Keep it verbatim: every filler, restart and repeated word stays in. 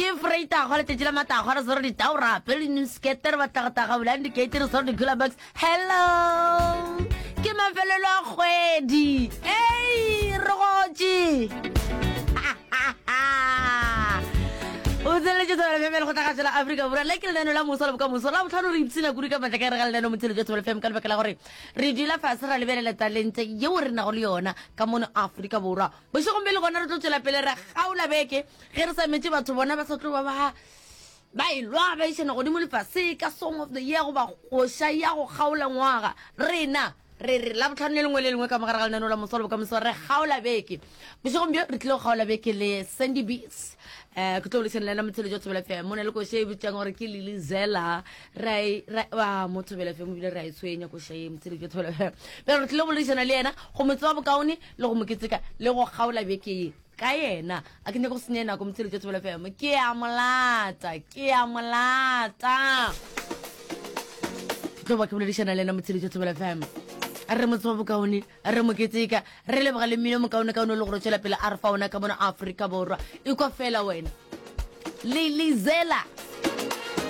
Ke Freitagwa, letšatši la matagwa, re swere ditaora, pele di-skete, re batla go taga bulang dikeite, re swere di-cooler box. Hello! Ke mafelelo a kgwedi. Ei, re gotše. O tseneletše Thobela F M ya Lekgotlakgašo la Afrika Borwa. Le ke lenaneo la moso la bokamoso. La bohlano re ipshina kudu ka matla ka gare ga lenaneo Motšheletšo wa Thobela F M ka lebaka la gore re dula fase ra lebelela talente yeo re nago le yona ka mono Afrika Borwa. Bošegong bjo le gona re tlo tšwela pele re kgaola beke ge re sa metše batho bona ba sa tlo ba ba ba elwa ba išana godimo le fase ka Song of the Year goba koša ya go kgaola ngwaga. Rena re re Labohlano le lengwe le lengwe ka mogare ga lenaneo la Moso le Bokamoso re kgaola beke. Bošegong bjo re tlile go kgaola beke le Sandy Beats. Eh, ke tlo boledišana le yena Motšheletšo wa Thobela F M. Mo na le koša e bitšang gore ke Lily Zela. Ra e, ra, ah, mo Thobela F M ebile re a e tshwenya koša ye Motšheletšo wa Thobela F M. Bjale re tlile go boledišana le yena go mo tseba bokaone le go mo keteka le go kgaola beke ye ka yena. A ke nyake go senya nako Motšheletšo wa Thobela F M. Ke a mo lata, ke a mo lata. Ke tlo ba ke boledišana le yena Motšheletšo wa Thobela F M. Re mo tseba bokaone, re mo keteka, re leboga le mmino mokaonekaone o le gore o tšwela pele a re fa ona ka mona Afrika Borwa. Ekwa fela wena. Lilizela.